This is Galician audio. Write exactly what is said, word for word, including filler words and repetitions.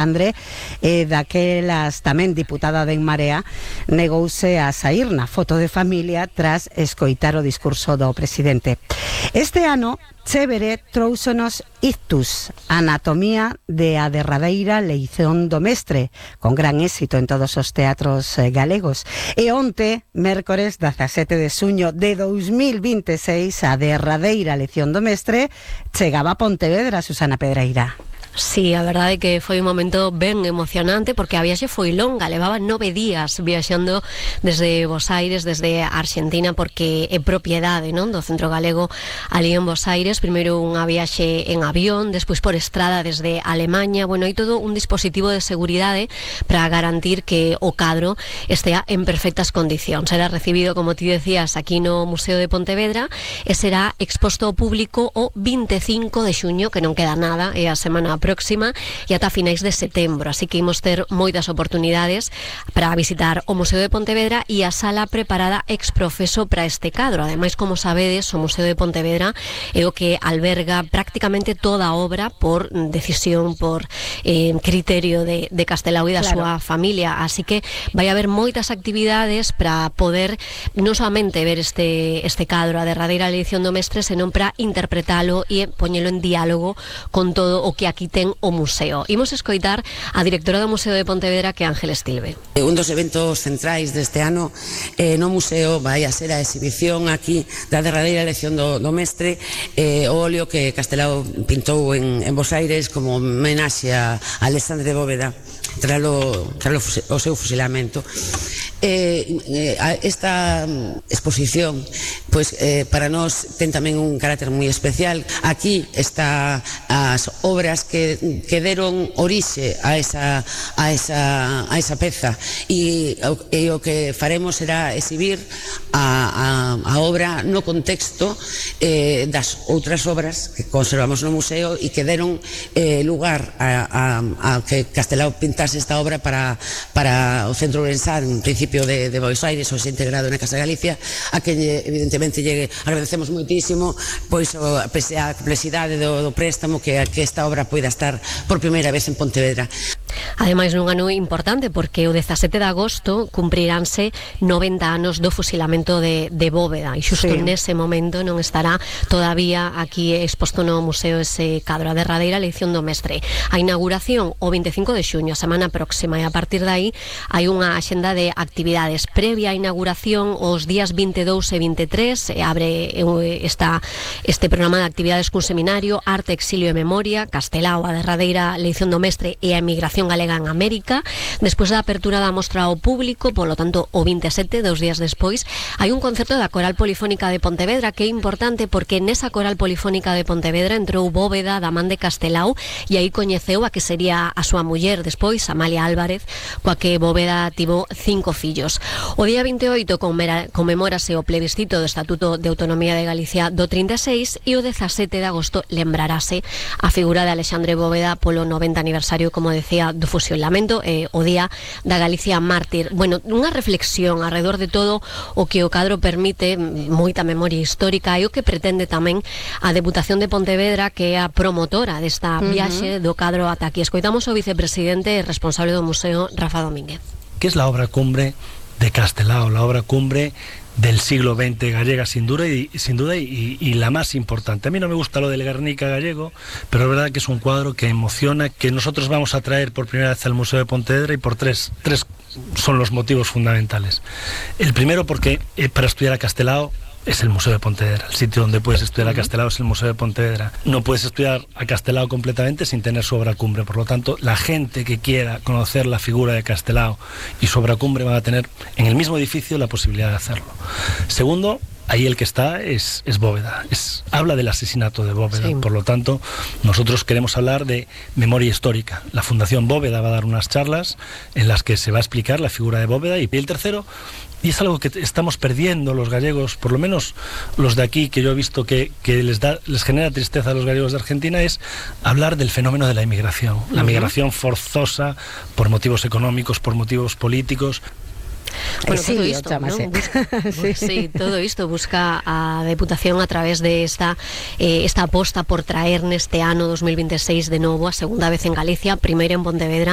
André, e daquelas tamén diputada de En Marea, negouse a saír na foto de familia tras escoitar o discurso do presidente. Este ano, Chévere trouxonos Ictus, anatomía de a derradeira leición do mestre, con gran éxito en todos os teatros galegos. E onte, mércores dezasete de xuño de dous mil vinte e seis, a derradeira lección do mestre chegaba a Pontevedra, Susana Pedreira. Sí, a verdade é que foi un momento ben emocionante porque a viaxe foi longa, levaba nove días viaxando desde Bos Aires, desde Argentina, porque é propiedade, non, do Centro Galego ali en Bos Aires. Primeiro unha viaxe en avión, despois por estrada desde Alemanha. Bueno, hai todo un dispositivo de seguridade para garantir que o cadro estea en perfectas condicións. Será recibido, como ti decías, aquí no Museo de Pontevedra e será exposto ao público o vinte e cinco de xuño, que non queda nada, é a semana próxima, e ata finais de setembro, así que imos ter moitas oportunidades para visitar o Museo de Pontevedra e a sala preparada ex profeso para este cadro. Ademais, como sabedes, o Museo de Pontevedra é o que alberga prácticamente toda a obra por decisión, por eh, criterio de, de Castelao e da claro. súa familia, así que vai haber moitas actividades para poder non solamente ver este, este cadro, a derradeira edición do mestre, senón para interpretalo e poñelo en diálogo con todo o que aquí ten o museo. Imos escoitar a directora do Museo de Pontevedra, que é Ángeles Tilbe. Un dos eventos centrais deste ano eh, no museo vai a ser a exhibición aquí da derradeira lección do, do mestre, eh, o óleo que Castelao pintou en, en Bos Aires como homenaxe a Alexandre Bóveda tralo, tralo o seu fusilamento. Eh, eh, esta exposición pois, eh, para nós ten tamén un carácter moi especial. Aquí está as obras que, que deron orixe a esa, a esa, a esa peza, e, e o que faremos será exhibir a, a, a obra no contexto eh, das outras obras que conservamos no museo e que deron eh, lugar a, a, a que Castelao pintase esta obra para, para o Centro Ourensán, en principio de, de Bos Aires, ou se integrado na Casa de Galicia, a que evidentemente llegue, agradecemos moitísimo, pois a, a complexidade do, do préstamo, que, que esta obra poida estar por primeira vez en Pontevedra. Ademais, nun ano importante, porque o dezasete de agosto cumpriránse noventa anos do fusilamento de, de Bóveda, e xusto sí. nese momento non estará todavía aquí exposto no museo ese cadro, a derradeira lección do mestre. A inauguración o vinte e cinco de xuño, a semana próxima, e a partir de aí hai unha axenda de actividades previa á inauguración. Os días vinte e dous e vinte e tres e abre esta, este programa de actividades cun seminario, Arte, Exilio e Memoria, Castelao, a derradeira lección do mestre e a emigración galega en América. Despois da apertura da mostra ao público, polo tanto o vinte e sete, dos días despois, hai un concerto da Coral Polifónica de Pontevedra, que é importante porque nesa Coral Polifónica de Pontevedra entrou Bóveda da man de Castelao, e aí coñeceu a que sería a súa muller despois, Amalia Álvarez, coa que Bóveda tivo cinco fillos. O día vinte e oito conmemórase o plebiscito do Estatuto de Autonomía de Galicia do trinta e seis, e o dezasete de agosto lembrarase a figura de Alexandre Bóveda polo noventa aniversario, como decía, do fusilamento, eh, o día da Galicia mártir. Bueno, unha reflexión alrededor de todo o que o cadro permite, moita memoria histórica, e o que pretende tamén a Deputación de Pontevedra, que é a promotora desta viaxe do cadro ata aquí. Escoitamos o vicepresidente e responsable do museo, Rafa Domínguez. Que es la obra cumbre de Castelao, la obra cumbre del siglo veinte gallega, sin duda, y, sin duda y, y la más importante. A mí no me gusta lo del Guernica gallego, pero es verdad que es un cuadro que emociona, que nosotros vamos a traer por primera vez al Museo de Pontevedra, y por tres, tres son los motivos fundamentales. El primero, porque eh, para estudiar a Castelao es el Museo de Pontevedra. El sitio donde puedes estudiar a Castelao es el Museo de Pontevedra. No puedes estudiar a Castelao completamente sin tener su obra cumbre. Por lo tanto, la gente que quiera conocer la figura de Castelao y su obra cumbre van a tener en el mismo edificio la posibilidad de hacerlo. Segundo, ahí el que está es, es Bóveda, es, habla del asesinato de Bóveda, sí. Por lo tanto nosotros queremos hablar de memoria histórica. La Fundación Bóveda va a dar unas charlas en las que se va a explicar la figura de Bóveda. Y el tercero, y es algo que estamos perdiendo los gallegos, por lo menos los de aquí, que yo he visto que, que les, da, les genera tristeza a los gallegos de Argentina, es hablar del fenómeno de la inmigración, la migración forzosa por motivos económicos, por motivos políticos. Bueno, Exilio, todo isto, chámase. ¿no? Busca, Sí. sí, todo isto busca a Deputación a través de esta eh, esta aposta por traer neste ano dos mil vinte e seis de novo a segunda vez en Galicia, primeiro en Pontevedra